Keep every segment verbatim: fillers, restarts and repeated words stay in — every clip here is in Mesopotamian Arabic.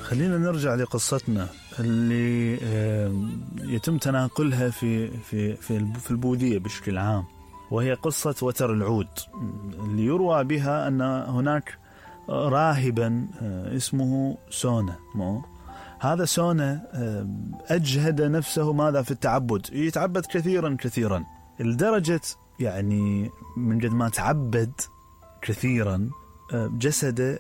خلينا نرجع لقصتنا اللي يتم تناقلها في في في في البوذية بشكل عام، وهي قصة وتر العود اللي يروى بها أن هناك راهبا اسمه سونا. مو هذا سونا أجهد نفسه ماذا في التعبد، يتعبد كثيرا كثيرا لدرجة يعني من قد ما تعبد كثيرا جسده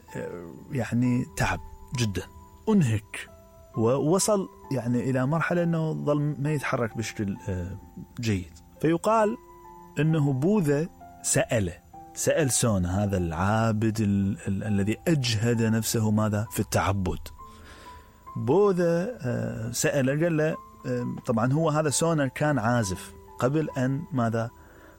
يعني تعب جدا، أنهك، ووصل يعني إلى مرحلة أنه ظل ما يتحرك بشكل جيد. فيقال أنه بوذا سأله سأل سونا هذا العابد ال- ال- الذي أجهد نفسه ماذا في التعبد. بوذا سأله قال له، طبعا هو هذا سونا كان عازف قبل أن ماذا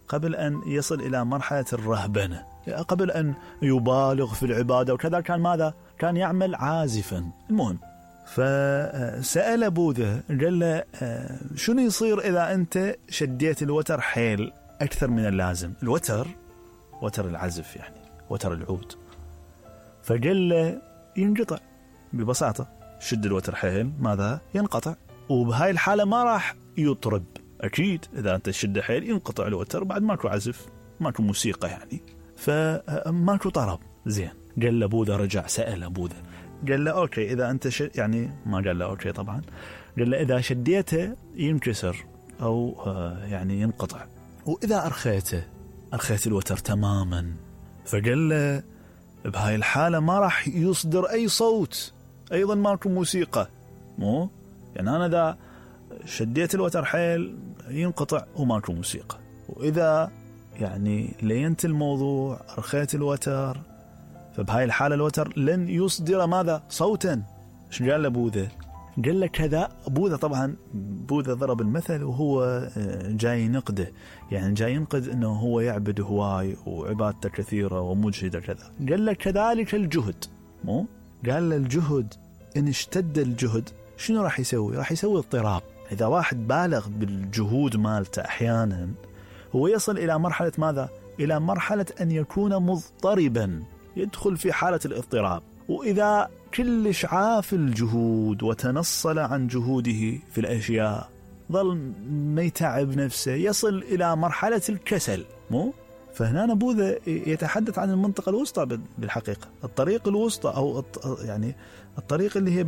قبل أن يصل إلى مرحلة الرهبنة، قبل أن يبالغ في العبادة وكذا، كان ماذا كان يعمل عازفا. المهم فسأل بوذا قال له شنو يصير إذا أنت شديت الوتر حيل أكثر من اللازم، الوتر وتر العزف يعني وتر العود. فقال له ينقطع ببساطة، شد الوتر حيل ماذا ينقطع، وبهاي الحالة ما راح يطرب. أكيد إذا أنت شد حيل ينقطع الوتر، بعد ماكو عزف ماكو موسيقى يعني، فماكو طرب. زين، قال له بوذا رجع سأل بوذا قال له أوكي إذا أنت ش... يعني ما قال له أوكي طبعا، قال له إذا شديته ينكسر أو يعني ينقطع، وإذا أرخيته أرخيت الوتر تماما. فقال له بهاي الحالة ما راح يصدر أي صوت، أيضا ماكو موسيقى. مو يعني أنا إذا شديت الوتر حيل ينقطع وماكو موسيقى، وإذا يعني لينت الموضوع أرخيت الوتر، فبهاي الحالة الوتر لن يصدر ماذا صوتا. إيش قال له بوذا؟ قال له كذا. بوذا طبعا بوذا ضرب المثل وهو جاي ينقده، يعني جاي ينقد أنه هو يعبد هواي وعبادته كثيرة ومجهدة كذا. قال له كذلك الجهد. مو قال له الجهد إن اشتد الجهد شنو راح يسوي؟ راح يسوي اضطراب. إذا واحد بالغ بالجهود مالته أحيانا هو يصل إلى مرحلة ماذا؟ إلى مرحلة أن يكون مضطربا، يدخل في حالة الاضطراب. وإذا كلش عاف الجهود وتنصل عن جهوده في الأشياء، ظل ما يتعب نفسه، يصل إلى مرحلة الكسل. مو فهنا بوذا يتحدث عن المنطقة الوسطى بالحقيقة، الطريق الوسطى أو يعني الطريق اللي هي